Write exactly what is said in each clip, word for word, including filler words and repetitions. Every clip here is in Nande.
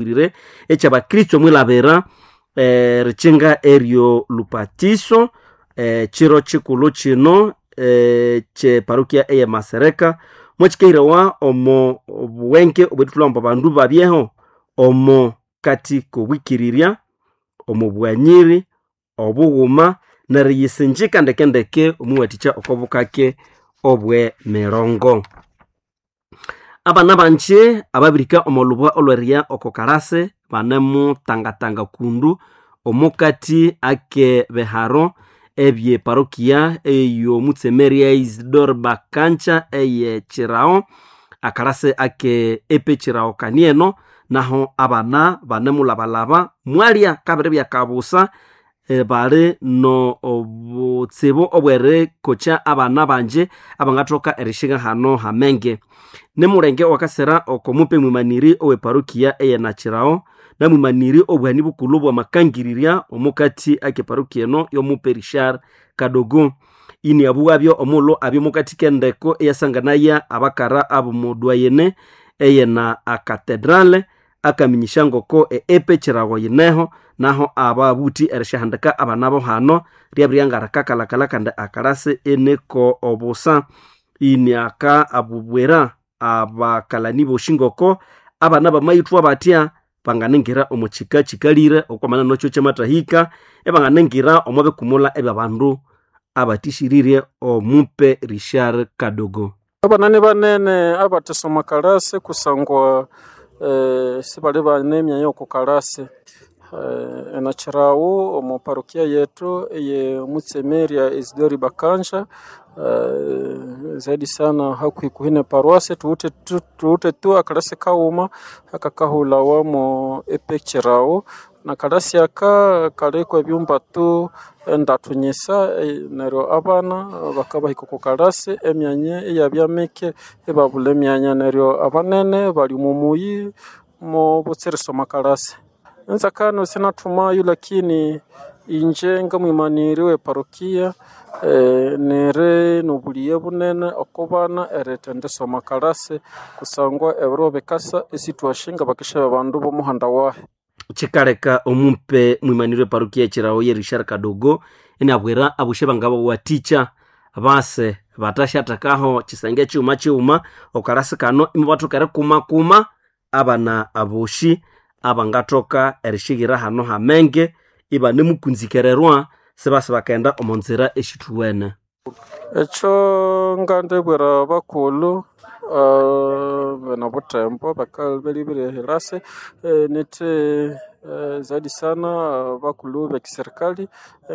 Rire ekyabakristo mwilabira eh, rikinga eryo lupatiso eh, chiro chikulu chino eh, kye parokia eye Masereka mwekikehirawa omo obuwenke obwethulhamba abandu babyeho omo kati kobwikirirya omo bwanyiri obughuma neriyisinjika ndekendeke omuwathikya okobukake obwe mirongo. Abana banje ababirika omo lubwa olweria oko kalase banemutangatanga kundu omukati ake beharo ebye parokia ey'omutsemeria Isidore Bakancha eye Chirao akalase ake epe Chirao kanieno naho abana banemulabalaba mwalya kabiri byakabusa eh, bali no obutsibu obwerikokya abana banje abangathoka erishiga hano hamenge. Nimulenge owakasira oko mupe mwimaniri oweparokia eye Nachirao namwimaniri obuhani bukulhu bwamakangirirya omukati ake parokia eno yomupe Richard Kadogo. Ini abuwabyo omulhu abyo mukati kendeko eyasanganaya abakara ab'omudwayene eyena akatedrale akaminyisha ngoko eepe chirago yineho naho ababuthi erishahandika abana bo hano ryabiryangarakakalakala kandi akalasi eneko obusa. Ini aka abubwera abakalani boshi ngoko abana bamayithwa batya banganingira omu kika kikalire okwamana nokyo kyamathahika ebanganingira omo bikumula ebyabandu abathishirire omupe Richard Kadogo. Abana ni banene abathasoma kalasi kusangwa eh, sibali bane emyanya yoku kalasi eh, enachirawo omu parokia yetu eye mutsemeria Isidori Bakanja eh, zaidi sana hakuhikuhi ne paroasi tuwithe tu, tuwithe tu akalasi kaghuma akakahulhawamo epekirawo na kalasi aka kaliko ebyumba tu endatu nyisa eh, neryo abana bakabahika oko kalasi emyanya iyabya mike ibabulha emyanya neryo abanene bali omu muyi mubutsira erisoma kalasi. Enzakano sinathumayo lakini inje ngamwimaniri we parokia eh, niri nobulighe bunene oko bana erithendisoma kalasi kusangwa ebiro bikasa isithwasyi ngabakesha babandu bomuhanda wahi. Kikaleka omupe mwimaniri weparokia ekirawo ye Richard Kadogo inabwira abushe bangabawathikya base batasyathekaho kisenge kighuma kighuma okalasi kano imubathoka erikumakuma abana aboshi abangathoka erishighira hano hamenge ibanemukunzikererwa sibasa bakaghenda omo nzira esithuwene. Ekyo ngandibwira bakulhu uh, bene buthembo bakalibirire ehirasi eh, nithi eh, zaidi sana bakulhu bekiserikali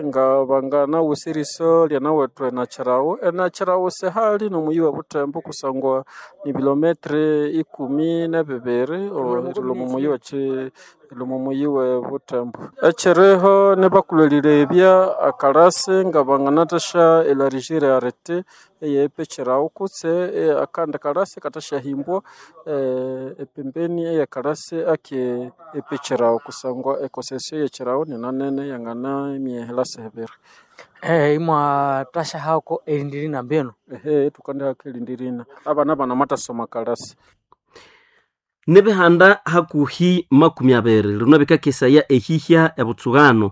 nga banganawusa eriso lyanawethu enachirawo enachirawo sihali nomuyi wa buthembo kusangwa ni bilometre ikumi nebibiri erilhwa omu muyi wekyi erilhwa omu muyi we buthembo. Ekyiriho nibakulhu erilebya akalasi nga banganathasya elargir arete eyepekirawo kutse akandi kalasi kathasyahimbwa eh, epembeni eyakalasi ake epekirawo kusangwa ekosesyo eyekirawo ninanene yangana imya ehilasi ebiri. Eh, imwathasya erindi mbinu. Ehe thukandihako erindi rina abana banamathasoma kalasi. Nibihanda hakuhi makumi abiri lino bikakesaya ehihya ebutsughano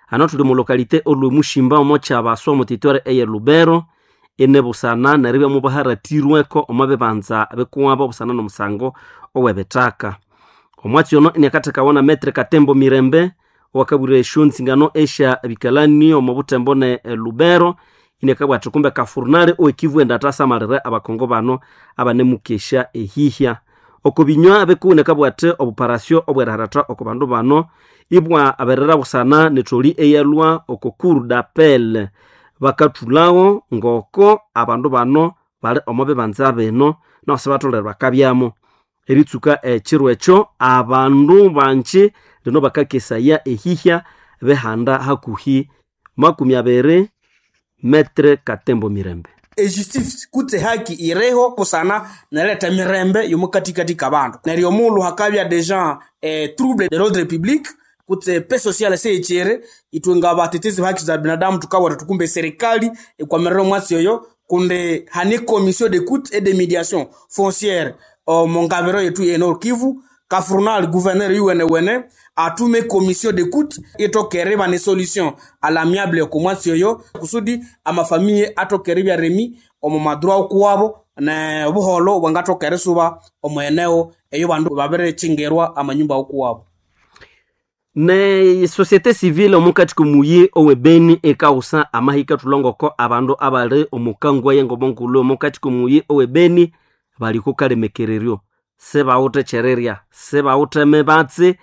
hano thuli mu lokalite olwe Mushimba omo kyabaswa omu territoire eye Lubero inebusana neribya mubaharatirweko omo bibanza bikuwabo obusana nomusango owebithaka. Omwatsi ono iniakathekawa na Metre Katembo Mirembe owakabwira esyo nzingano esya bikalani omo buthembo ne Lubero iniakabugha athi kumbe kafurnale owekivu enda athasamalire abakongo bano abanemukesya ehihya. Oko binywa bikuwu inakabugha athi obuparasyo obweriharatha oko bandu bano ibwa aberera busana netholi eyalhwa oko cour d'appel bakathulhawo ngoko abandu bano bali omo bibanza bino naho sibatholere bakabyamo. Eritsuka ekiro ekyo abandu banji lino bakakesaya ehihya bihanda hakuhi makumi abiri Metre Katembo Mirembe. Ejustice kutse haki ireho kusana nereta mirembe yomukatikati kabandu neryo omulhu hakabya deja eh, trouble de l'ordre public kutse paix sociale seyichere itwe nga batetezi ba haki za binadamu tukabwata tukumbe serikali ekwamerera omwatsi oyo kundi hani commission d'écoute et de médiation foncière omu ngabiro yetu ye Nord Kivu. Kafrunal gouverneur yuwenewene atume commission d'écoute itokere bane solution à l'amiable okomwatsi oyo kusudi amafamiye atokere byaremi omu madroit okuwabo ne obuholo bwangatokere suba omu eneo eyo bandu babirechingerwa amanyumba okuwabo. Ne société civile omukati komuyi owebeni ekausa amahika tulongoko abandu abali omukangwa yengobonkulu omukati komuyi owebeni bali kukalemekereryo sebawuthe kyererya sebawuthe mebatsi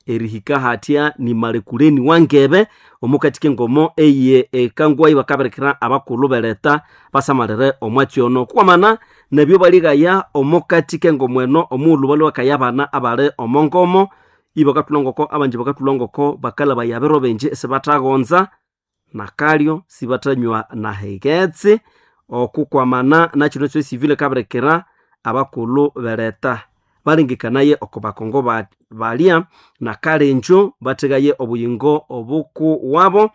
erihika hatya nimalekuleni wangebe omukati kengomo eye ekangwa ibakabirikira abakulhu beleta basamalire omwatsi ono kwamana nebyo baligaya omukati kengomo eno omughulhu balwe bakaya abana abali omongomo ibakathulongoko abanji bakathulongoko bakalabaya abiro bingi isibathaghonza nakalyo sibathanywa nahighetse okukwamana nakino ekyo civil kabirikira abakulhu beleta balengekanaye oko bakongo ba- balya nakalenjo bathegaye obuyingo obuku wabo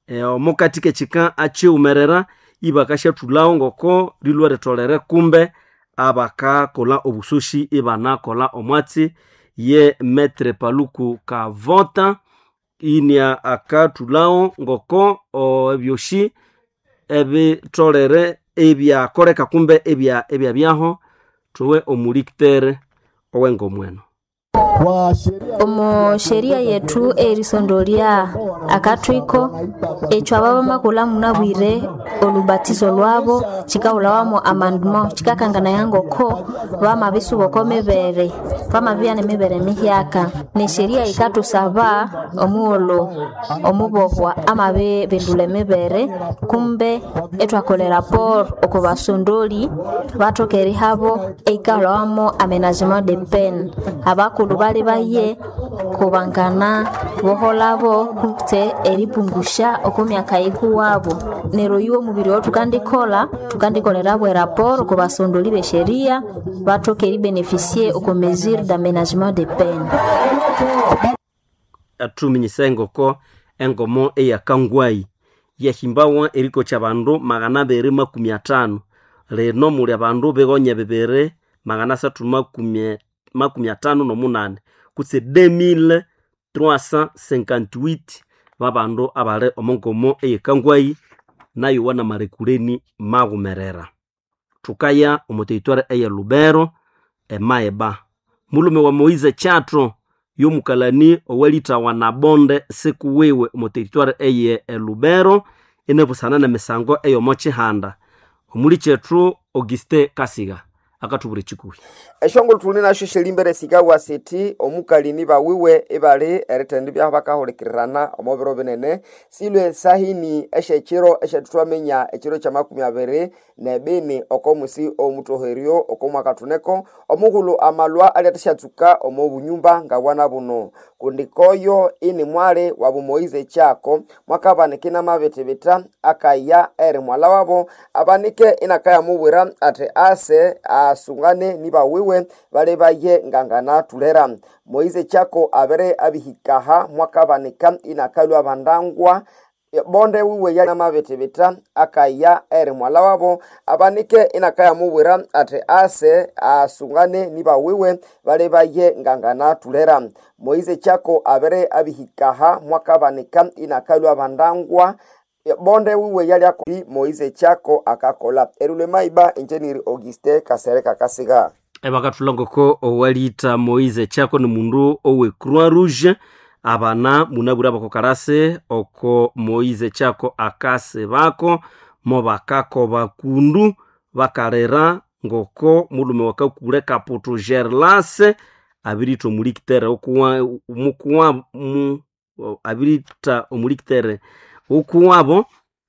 e, omukati kekika akyiwumerera ibakasyathulhawo ngoko lilwa ritholere kumbe abakakolha obusoshi ibanakolha omwatsi ye metre Paluku Kavota inia akathulhawo ngoko o, ebyoshi ebitholere ebyakoleka kumbe ebya ebyabyaho thuwe omulikitere owengomweno. Omu sheria yetu erisondolya akathwiko ekyo aba bamakulha munabwire olubatizo lwabo kikahulhawamu amendement kikakanganaya ngoko bamabisuba oko mibere bamabibya nemibere mihyaka nesheria yikathusaba omughulhu omubohwa amabibindulha emibere kumbe ithwakola eraporo oko basondoli bathoka erihabo eyikahulhawamu amenagement de peine abakulhu bali baye kubangana boholabo kutse eripungusha oko myaka yikuwabo neryo yiwe omubiri owo thukandikolha thukandikolherabo eraporo oko basondoli besheria bathoka eribeneficie oko mesure d'aménagement de peine. Athuminyisa engoko engomo eyakangwayi yahimbawa erikokya abandu magana abiri makumi athanu lino muli abandu bigonya bibiri magana asathu makumi makumi athanu nomunani kutse deux mille trois cent cinquante-huit babandu abali omongomo eyekangwayi nayo namalekuleni maghumerera. Thukaya omo territoire eye Lubero emaeba mulume wa Moise Chatro yomukalani owalithawa nabonde sikuwiwe omo territoire eye Lubero inabusana nemisango eyomo kihanda omuli kyethu Auguste Kasiga akathubwira ekikuhi. Eshongolo thuli nasho syelimbere sikawa sithi omukalini bawiwe ibali erithenda ibyaho bakahulikirirana omo biro binene silwe sahini esyekiro esyathwaminya ekiro kyamakumi abiri nebini oko musi omutoheryo oko mwaka thuneko omughulhu amalwa alyathashatsuka omo bunyumba ngabwana buno kundi koyo ini mwali wabu Moise Chako mwakabanika inamabithibitha akaya eri mwala wabo abanike inakayamubwira athi ase asungane nibawiwe bali baye nganganathulera Moise Chako abere abihikaha mwakabanika inakalwa bandangwa bonde wiwe yanamabithibitha akaya eri mwala wabo abanike inakayamubwira athi ase asungane nibawiwe bali baye nganganathulera Moise Chako abere abihikaha mwakabanika inakalwa bandangwa bonde wiwe yali Moise Chako akakola erule maiba enjeniri Auguste Kasereka Kasiga. Ebakathulangoko owalitha Moise Chako ni mundu owe Croix Rouge abana munabwire abakokarasi oko Moise Chako akasi bako mo bakakoba kundu bakalira ngoko mulume wakakule Kaputu Gerlase abiritha omulikitere okuwa mukuwa mu abiritha omulikitere okuwabo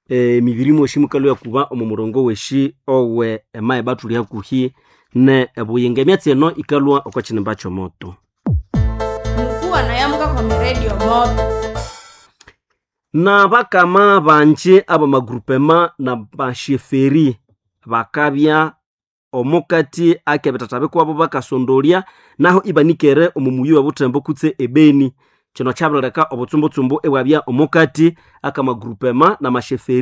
emibiri mwoshi mukalwa kuba omu murongo weshi owe emaeba thuli hakuhi ne ebuyinga emyatsi eno ikalwa oko kinimba kyomoto. Mukuwa nayamuka kwa miredio moto Na bakama banji abamagrupema na basheferi bakabya omukati akebitata bikwabo bakasondolya naho ibanikere omu muyi webuthembo kutse ebeni kino kyabirileka obutsumbutshumbu ibwabya omukati akamagrupema na masheferi.